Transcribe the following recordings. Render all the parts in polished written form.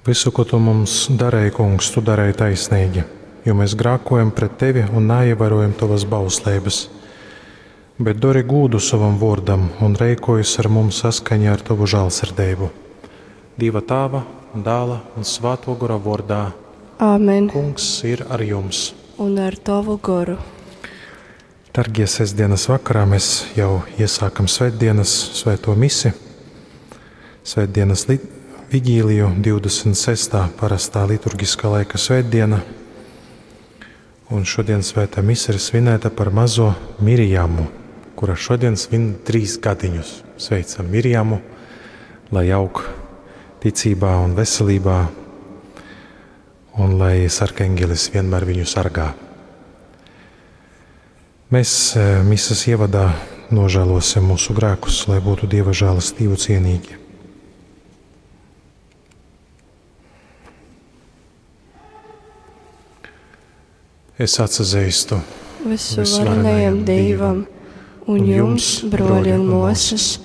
Visu, ko tu mums darēji, Kungs, tu darēji taisnīgi, jo mēs grākojam pret tevi un naievērojam tovas bausleibas. Bet dori gūdu sovam vōrdam un reikojies ar mums saskaņā ar tovu žālsirdeibu. Dieva Tāva, Dāla un Svāto Gora vōrdā. Āmen. Kungs ir ar jums. Un ar tavu goru. Dargie sestdienas vakarā mēs jau iesākam svētdienas svēto misi, svētdienas vigīliju, 26. parastā liturgiskā laika svētdiena. Un šodien svētā mise ir svinēta par mazo Mirjamu, kura šodien svin 3 gadiņus. Sveicam Mirjamu, lai aug ticībā un veselībā, un lai sarkangelis vienmēr viņu sargā. Mēs mises ievadā nožēlosim mūsu grēkus, lai būtu Dieva žēlastību cienīgi. Es atsazīstu Visuvarenajam Dievam un jums, broļi un mosas,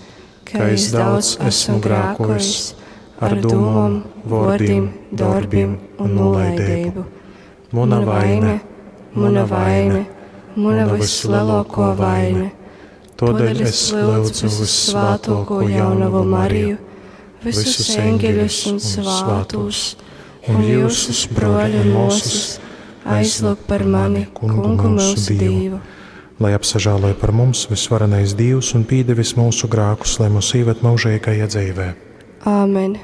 ka es daudz esmu grēkojis ar domām, vārdiem, darbiem un nolaidību. Mana vaine, mana vaine, mana vislielāko vaine. Todēļ es lūdzu vissvētāko jaunavu Mariju, visus eņģeļus un svātus, un jūsus, broļi un mosas, aizlūg par mani, Kungu mūsu Dievu. Lai apsažāloja par mums visvarenais Dievs un pīdevis mūsu grākus, lai mūs ieved mūžīgajā dzīvē. Āmen.